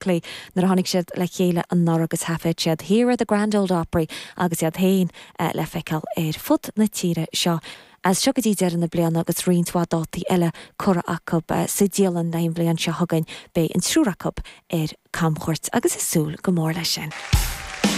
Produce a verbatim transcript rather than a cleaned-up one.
Berkeley nuair a tháinig siad le chéile anuraidh agus thaifead siad Here at the Grand Old Opry agus iad féin eh, le feiceáil ar fud na tíre seo. As seo go dtí deireadh na bliana agus roinnt mhaith dátaí eile curtha acu eh, sa dialann don bhliain seo chugainn beidh an triúr acu ar camchuairt agus ag súil go mór leis sin.